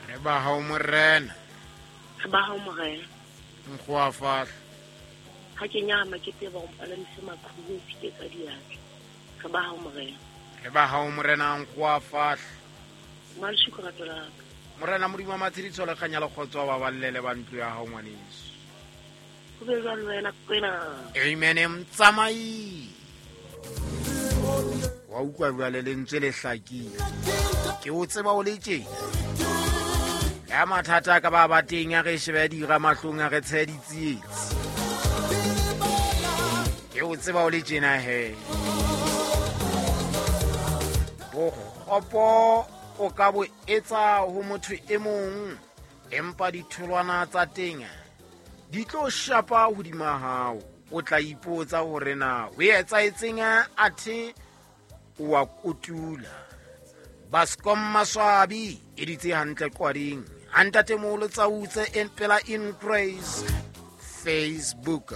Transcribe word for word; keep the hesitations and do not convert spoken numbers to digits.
Re ba hao morena. Re ba hao morena. Nkgoa fahla. Ha ke nyama ke tseba o mpalamise maqhubu o tshiketsa diatla. Re ba hao morena. Re ba hao morena nkgoa fahla. Maleshu rato la ka. Morena Modimo wa matshediso le kganya le kgotso ba ballele ba ntlo ya hao ngwaneso. Ho be jwalo wena kwena. Amen mtsamai. Wa utlwa jwale lentswe le hlakile. Ke o tseba o le tjena. Ya mathata ka ba ba teng a re shebe dira mahlong a re tshe ditsietsi. Ke o tseba o le tjena he. Bokgopo o ka bo etsa ho motho e mong, empa ditholwana tsa teng di tlo shapa hodima hao. O tla ipotsa hore na ho etsahetseng athe o a kotula. Bascom Maswabi e ditse hantle qwading. Ha ntatemoholo Tsautse en pela in Grace Facebook.